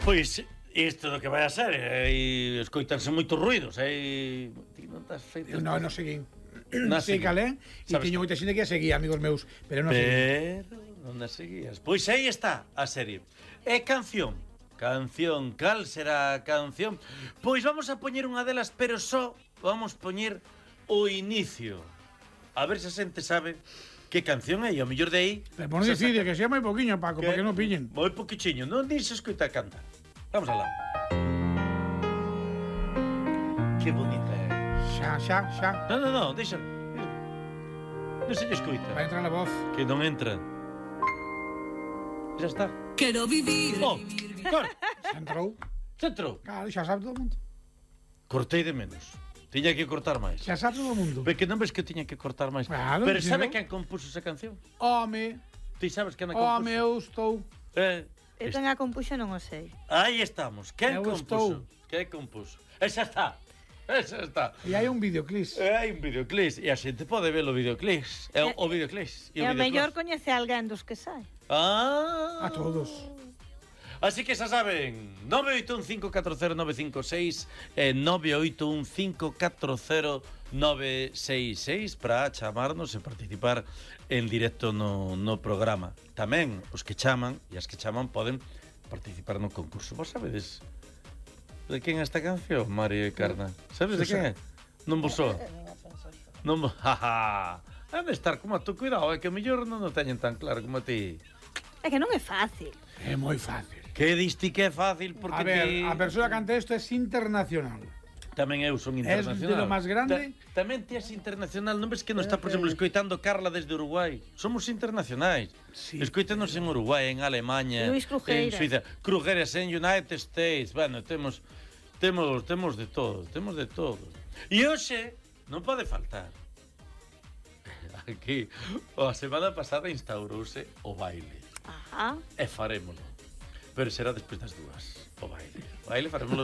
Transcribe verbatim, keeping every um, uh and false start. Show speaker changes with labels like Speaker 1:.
Speaker 1: Pois isto do que vai a ser, e escoitanse moitos ruidos, e ti non estás feito.
Speaker 2: No, non seguín.
Speaker 1: Non
Speaker 2: sei calén, e teño moita xente que a seguía, amigos meus, pero non seguín.
Speaker 1: Pero non a seguías. Pois aí está a serie. É canción. Canción, cal será a canción? Pois vamos a poñer unha delas, pero só vamos poñer o inicio. A ver se a xente sabe que canción é, e ao mellor de aí...
Speaker 2: Pero non dicide, que sea moi poquinho, Paco, para que non pillen.
Speaker 1: Moi poquichiño, non dixe escoita cantar. Vamos alá. Que bonita é.
Speaker 2: Xa, xa, xa.
Speaker 1: Non, non, non, deixa. Non se lle escoita.
Speaker 2: Vai entrar a voz.
Speaker 1: Que non entra. Xa está.
Speaker 3: Quero vivir.
Speaker 1: Oh, cor.
Speaker 2: Xa entrou.
Speaker 1: Xa entrou.
Speaker 2: Claro, xa sabe todo o mundo.
Speaker 1: Cortei de menos. Tiña que cortar máis.
Speaker 2: Xa sabe todo o mundo.
Speaker 1: Ve que non ves que tiña que cortar máis.
Speaker 2: Claro,
Speaker 1: pero
Speaker 2: sí,
Speaker 1: sabe
Speaker 2: ¿no?
Speaker 1: quen compuso esa canción?
Speaker 2: Home.
Speaker 1: Ti sabes quen a compuso?
Speaker 2: Home, eu estou.
Speaker 1: Eh,
Speaker 4: Eu quen a compuxo non o sei.
Speaker 1: aí estamos. Quen
Speaker 2: Eu
Speaker 1: compuso?
Speaker 2: estou.
Speaker 1: Quen compuso? Esa está. Esa está.
Speaker 2: E hai un videoclip.
Speaker 1: E hai un videoclip. E a xente pode ver o videoclip. E o, o videoclip.
Speaker 4: E a mellor coñece alguén dos que sai.
Speaker 1: Ah.
Speaker 2: A todos.
Speaker 1: Así que xa saben, nove oito un cinco catro cero nove cinco seis e nove oito un cinco catro cero nove seis seis para chamarnos e participar en directo no, no programa. Tamén os que chaman e as que chaman poden participar no concurso. Vos sabedes de quen é esta canción, Mario e Carna? Sabes de quen é? Non vos soa? Non vos... Jaja. Han de estar como a tu, cuidado, é que o mellor non o teñen tan claro como a ti.
Speaker 4: É que non é fácil.
Speaker 2: É moi fácil.
Speaker 1: Que diste que é fácil porque
Speaker 2: A ver,
Speaker 1: ti...
Speaker 2: a persoa que canta isto é internacional.
Speaker 1: Tamén eu son internacional.
Speaker 2: Es de lo máis grande.
Speaker 1: Ta, tamén ti és internacional. Non ves que nos está, por exemplo, escoitando Carla desde Uruguai? Somos internacionais.
Speaker 2: Sí.
Speaker 1: Escoítanos en Uruguai, en Alemanha,
Speaker 4: Luis
Speaker 1: en
Speaker 4: Crujeira.
Speaker 1: Suiza. Crujeras en United States. Bueno, temos temos temos de todo, temos de todo. E hoxe non pode faltar. Aquí, a semana pasada instaurouse o baile.
Speaker 4: Ajá.
Speaker 1: E farémolo. Pero será despois das dúas, o baile. O baile farémolo